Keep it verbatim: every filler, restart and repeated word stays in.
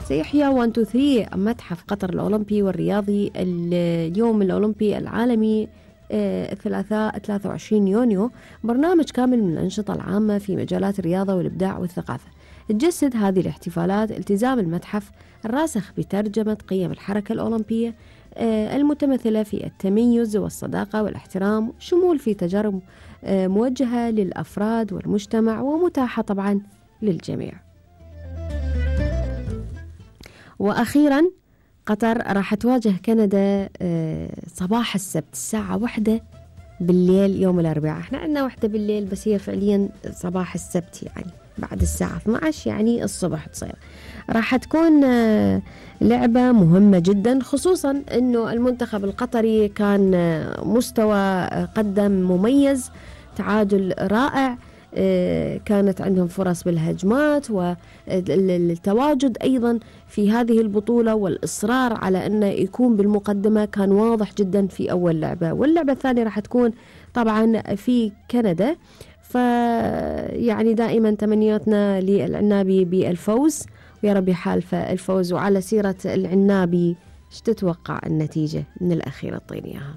سيحيا واحد اثنين ثلاثة متحف قطر الأولمبي والرياضي اليوم الأولمبي العالمي الثلاثاء ثلاثة وعشرين يونيو برنامج كامل من الأنشطة العامة في مجالات الرياضة والإبداع والثقافة. تجسد هذه الاحتفالات التزام المتحف الراسخ بترجمة قيم الحركة الأولمبية المتمثلة في التميز والصداقة والاحترام، شمول في تجارب موجهة للأفراد والمجتمع ومتاحة طبعا للجميع. وأخيرا قطر راح تواجه كندا صباح السبت الساعة واحدة بالليل يوم الأربعاء. احنا عندنا واحدة بالليل بس هي فعليا صباح السبت، يعني بعد الساعة اثنتي عشرة يعني الصبح تصير. راح تكون لعبة مهمة جدا، خصوصا انه المنتخب القطري كان مستوى قدم مميز، تعادل رائع، كانت عندهم فرص بالهجمات والتواجد أيضا في هذه البطولة والإصرار على أنه يكون بالمقدمة كان واضح جدا في أول لعبة. واللعبة الثانية راح تكون طبعا في كندا، فيعني دائما تمنياتنا للعنابي بالفوز ويا رب يحالف الفوز. وعلى سيرة العنابي ايش تتوقع النتيجة من الأخيرة؟ اعطيني إياها.